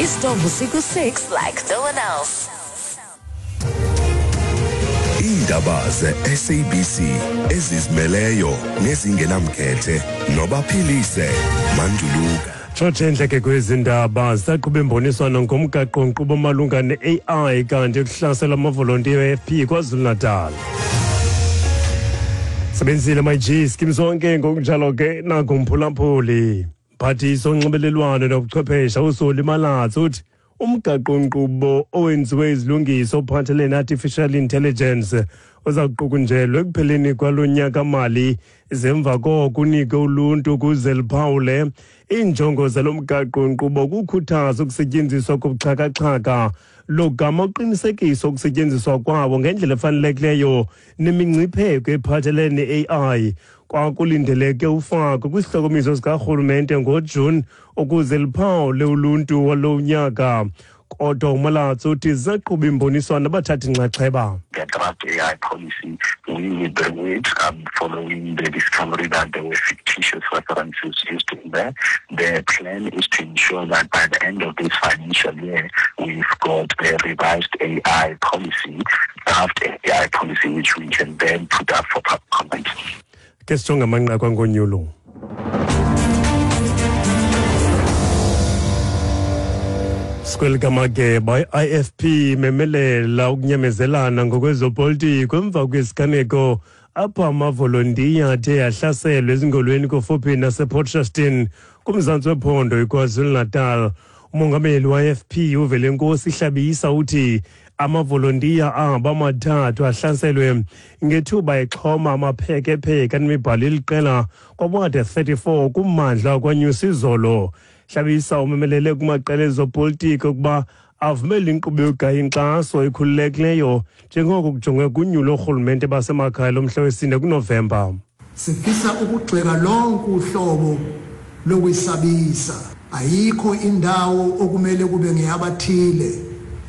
Istombu siku-6 like no one else. Iindaba ze-SABC ezizimeleyo nezingenamkhethe nobaphilise Manduluka. Tshotshe entle kwezi ndaba zisaqhuba imboniswano ngomgaqo-nkqubo malunga ne-AI kanti kuhlasela amavolontiya e-AFP KwaZulu-Natal. Sebenzile my G skim sonke ngokunjalo ke nakumphulaphuli. Mphathiswa onxibelelwano nobuchwephesha uSoli Malatsi uthi umgaqo-nkqubo owenziwe izilungiso ophathelene ne-artificial intelligence uza kuqukunjelwa ekupheleni kwalo nyaka-mali, zemva koko unike uluntu ukuze luphawule. Iinjongo zalo mgaqo-nkqubo kukhuthaza ukusetyenziswa kobuxhakaxhaka logama uqinisekisa ukusetyenziswa kwawo ngendlela efanelekileyo nemingcipheko ephathelene ne-AI. Kwakulindeleke ufakwe kwisihloko sikarhulumente ngoJuni ukuze liphawule uluntu walo nyaka, kodwa uMalatsi uthi zaqhuba imboniswano abathathi nxaxheba. The draft AI policy, we withdrew it following the discovery that there were fictitious references used in there. The plan is to ensure that by the end of this financial year, we've got a revised AI policy, draft AI policy, which we can then put up for public comment. Ke sijonge amanqaku angonyulo. Sikwelikamageba, i-IFP imemelela ukunyamezelana ngokwezopolitiko emva kwesiganeko apho amavolontiya athe ahlaselwe ezingolweni kufuphi nasePort Shepstone kumzantsi wephondo iKwaZulu-Natal. Umongameli we-IFP uVelenkosi Hlabisa uthi amavolontiya abo amathathu ahlaselwe ngethuba exhoma amaphekepheke anemibhalo eliqela kwawadi 34 kummandla kwaNyusizolo. Hlabisa umemelele kumaqela ezopolitiko ukuba avumele inkqubo yokugaya inkxaso ekhululekileyo njengoko kujongwe kunyulo oorhulumente basemakhaya lomhla wesine kuNovemba. Sifisa ukugxeka lonke uhlobo lokwesabisa. Ayikho indawo okumele kube ngeyabathile.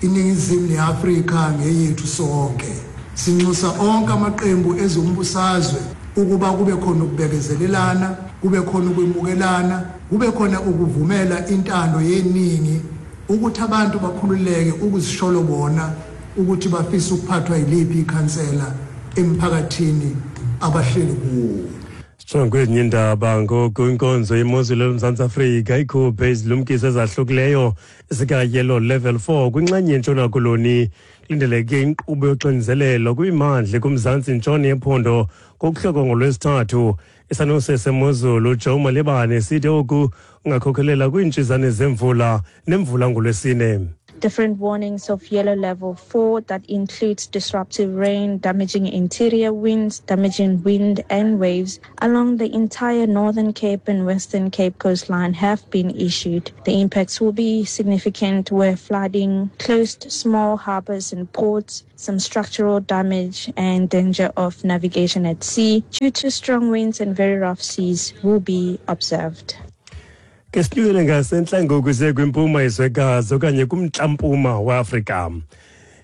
INingizimu neAfrika ngeyethu sonke. Sinxusa onke amaqembu ezombusazwe ukuba kube khona ukubekezelelana, kube khona ukwemukelana, kube khona ukuvumela intando yeningi, ukuthi abantu bakhululeke ukuzisholo bona ukuthi bafisa ukuphathwa yiliphi ikhansela emphakathini abahleli kuwo. Sijonge kwezinye iindaba ngoku. Inkonzo yemozulu yoMzantsi Afrika ikhuphe izilumkiso ezahlukileyo zika-yellow level 4 kwinxenye yeNtshona Koloni. Kulindeleke inkqubo yoxinzelelo kwimandla kumzantsi ntshona yephondo ngokuhloko ngoLwesithathu. Isanuse semozulu Joe Malibane sithi oku kungakhokhelela kwiintshizane zemvula nemvula ngoLwesine. Different warnings of yellow level 4 that includes disruptive rain, damaging interior winds, damaging wind and waves along the entire Northern Cape and Western Cape coastline have been issued. The impacts will be significant where flooding, closed small harbors and ports, some structural damage and danger of navigation at sea due to strong winds and very rough seas will be observed. Ke sinyukele ngasentla ngoku siye kwimpuma yezwekazi okanye kumntla-mpuma weAfrika.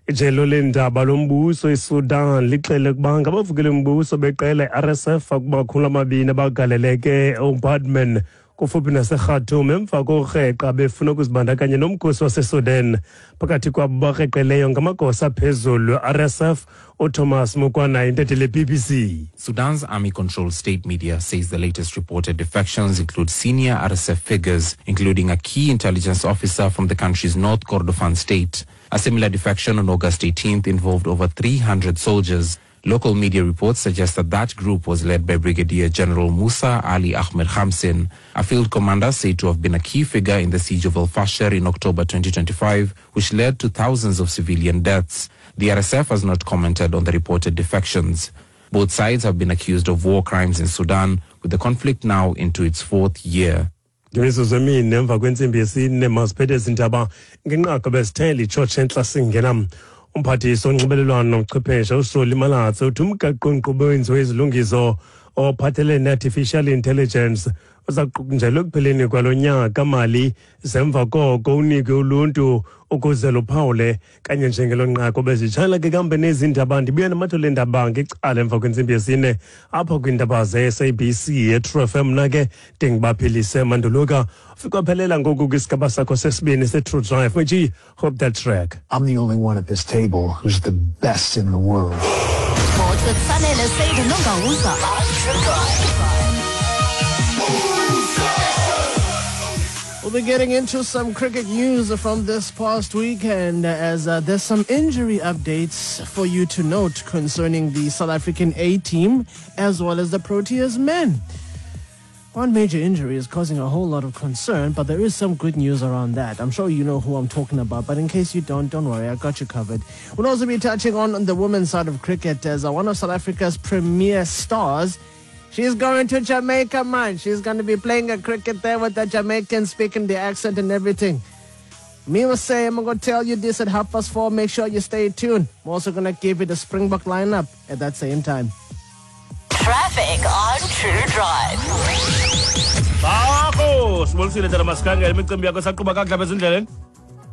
Ijelo leendaba lombuso iSudan lixele ukuba ngabavukeli mbuso beqela i-RSF akumakhulu amabini abagaleleke eOmdurman kufuphi naseKhartoum emva kokreqa befuna ukuzibandakanya nomkhosi waseSudan. Phakathi kwabo bakreqeleyo ngamagosa aphezulu RSF. UThomas Mukwana, intatheli le-BBC. Sudan's army-controlled state media says the latest reported defections include senior RSF figures, including a key intelligence officer from the country's North Kordofan state. A similar defection on August 18th involved over 300 soldiers. Local media reports suggest that that group was led by Brigadier General Musa Ali Ahmed Khamsin, a field commander said to have been a key figure in the siege of El Fasher in October 2025, which led to thousands of civilian deaths. The RSF has not commented on the reported defections. Both sides have been accused of war crimes in Sudan, with the conflict now into its fourth year. Ngemizuzu emine emva kwentsimbi yesine, masiphethe ezi ndaba ngenqaku besithele itshotshe entla singena. Umphathiswa onxibelelwano nobuchwepheshe uSoli Malatsi uthi umgaqo-nkqubo owenziwe izilungiso ophathelene ne-artificial intelligence. Uza kuqukunjelwa ekupheleni kwalo nyaka mali, zemva koko unikwe uluntu ukuze luphawule kanye njengelo nqaku. Bezitshala ke kambe nezi ndaba, ndibuya namathole endaba ngecala emva kwentsimbi yesine apha kwiindaba ze-SABC yeTru FM. Mna ke ndinguBaphilise Manduluka. Fikaphelela ngoku kwisigaba sakho sesibini se-True Drive, which hope that track. I'm the only one at this table who's the best in the world. Sports with Sanele Said Nongawuza. We'll be getting into some cricket news from this past weekend as there's some injury updates for you to note concerning the South African A team as well as the Proteas men. One major injury is causing a whole lot of concern, but there is some good news around that. I'm sure you know who I'm talking about, but in case you don't worry, I got you covered. We'll also be touching on the women's side of cricket as one of South Africa's premier stars. She's going to Jamaica, man. She's going to be playing a cricket there with the Jamaicans, speaking the accent and everything. Me will say, I'm going to tell you this at 4:30. Make sure you stay tuned. I'm also going to give you the Springbok lineup at that same time. Traffic on True Drive. Bakho, sibolisile tata masikhangele imicimbi yakho saqhuba kakuhle apha ezindleleni.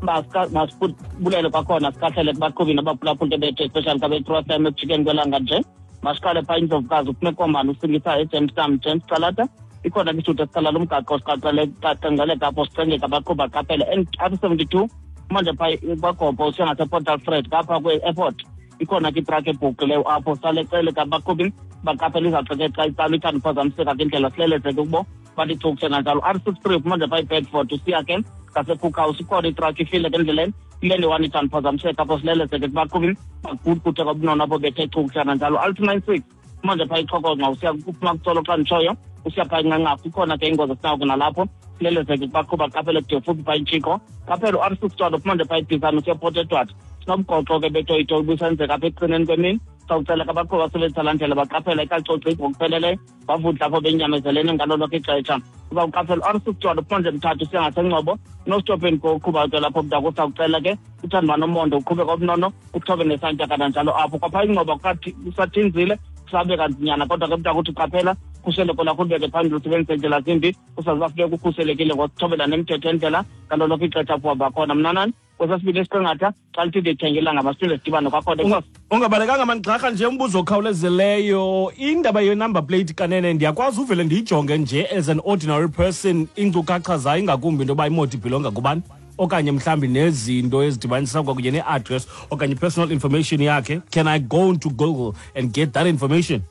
Masibulele kwakhona sikhahlele kubaqhubi nabaphulaphula bethu, especially kabe-True FM ekujikeni kwelanga nje. Masiqale phaa Indlovukazi uphume komani usingisa eJamestown, James Calata. Ikhona ke isithuthi esikhala lo mgaqo siqaqeleka apho sicengeka abaqhubi baqaphele. N72 manje phaa kwaGopo usiya ngasePort Alfred ngapha kwe-airport. Ikhona ke itrakhi ebhuqileyo apho salecele abaqhubi baqaphela izawuxeke xa itsala ithanda uphazamiseka ke indlela silelezeke kubo bathi chukushe kanjalo. R63 manje phaa iBedford usiya ke ngaseCookhouse ikhona itrakhi ifile ke endleleni ilele one ithanda uphazamiseka apho silelezeke kubaqhubi bagudguthe kwabunono apho bethe chukushe kanjalo. R296 manje phaa iXhokonxa usiya kuphuma kuTsolo xa nditshoyo usiya phaa iNqanqafu ikhona ke ingozi esinawo ke nalapho silelezeke kubaqhubi baqaphele kude futhi phaa iNtshiko. Qaphela u-R61 manje phaa iBhisane usiya Port Edward sinomgoqo ke betoyitoyi ubusenzeka apha ekucineni kwemini. Sawucela ke abaqhubi basebenzisa laa ndlela baqaphela ikacoci ngokupheleleyo bavudla apho benyamezelene ngalo lonke ixesha. Uzawuqaphela u-R61 uphonje Mthatha usiya ngaseNgcobo no-stop and go uqhuba ke lapho mntaka. Usawucela ke uthanda uba nomonde uqhube kobunono uthobe nesantya kananjalo apho. Kwaphaa iNgcobo kusathinzile kusabe kanzinyana kodwa ke mntaka uthi qaphela khuseleko lakho ulibeke phambili usebenzise indlela zimbi usazi uba funeka ukhuselekile ngokuthobela nemithetho yendlela ngalo lonke ixesha apho uhamba khona. Mnanani kwesasibini esiqingatha xa lithi ndithengelanga masiphinde sidibane kwakhona. Ungabalekanga manigxarha nje umbuzo okhawulezileyo. Indaba ye-number plate kanene ndiyakwazi uvele ndiyijonge nje as an ordinary person iinkcukacha zayo ingakumbi into yoba imoto ibhilonga kubani okanye mhlawumbi nezinto ezidibanisa kwakunye ne-address okanye personal information yakhe. Can I go into Google and get that information?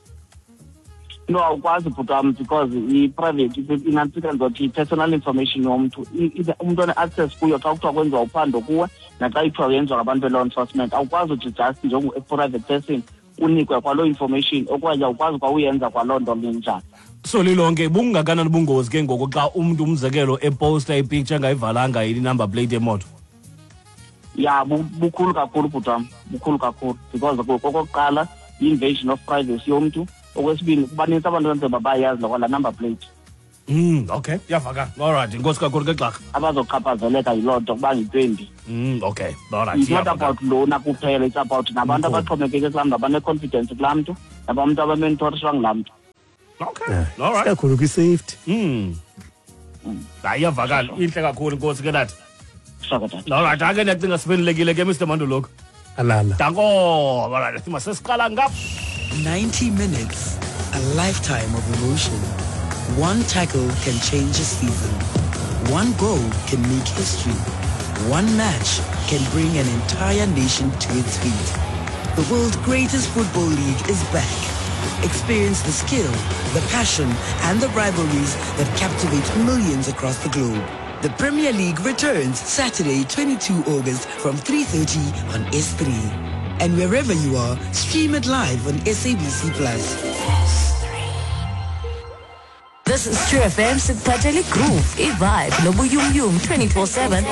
No, awukwazi bhuti wam because i-private inantsika ndizothi i-personal information yomntu umntu one-access kuyo xa kuthiwa kwenziwa uphando kuwe naxa ithiwa yenziwa ngabantu be-law enforcement. Awukwazi uthi just njengo-private person unikwe kwaloo information okanye awukwazi kwawuyenza kwaloo nto linjani. So lilonke bungakanani ubungozi ke ngoku xa umntu umzekelo eposta ipicture engayivalanga i-number plate yemoto? Ya, bukhulu kakhulu bhuti wam, bukhulu kakhulu because okokuqala yi-invasion of privacy yomntu. Okwesibini kubanintsi abantu enzeba bayazi laa number plate. Okay, iyavakala. All right, inkosi kakhulu ke Gxarha. Abazochaphazeleka yiloo nto kuba yi-20. Okay, all right. It's not about lona kuphela, it's about nabantu abaxhomekeke kulaa mntu, abane-confidence kulaa mntu, nabantu abamentorishwa ngulaa mntu. Okay, all right. Kakhulu kwi-safety. Hayi, iyavakala. Intle kakhulu inkosi ke nathi. All right, ake ndiyacinga siphendulekile ke Mr. Manduluka. Alala. Danko, all right, masesiqala ngapha. 90 minutes, a lifetime of emotion. One tackle can change a season. One goal can make history. One match can bring an entire nation to its feet. The world's greatest football league is back. Experience the skill, the passion, and the rivalries that captivate millions across the globe. The Premier League returns Saturday, 22 August from 3:30 on S3. And wherever you are, stream it live on SABC Plus. This is True FM sikuphathele groove, i-vibe nobuyumyum 24/7.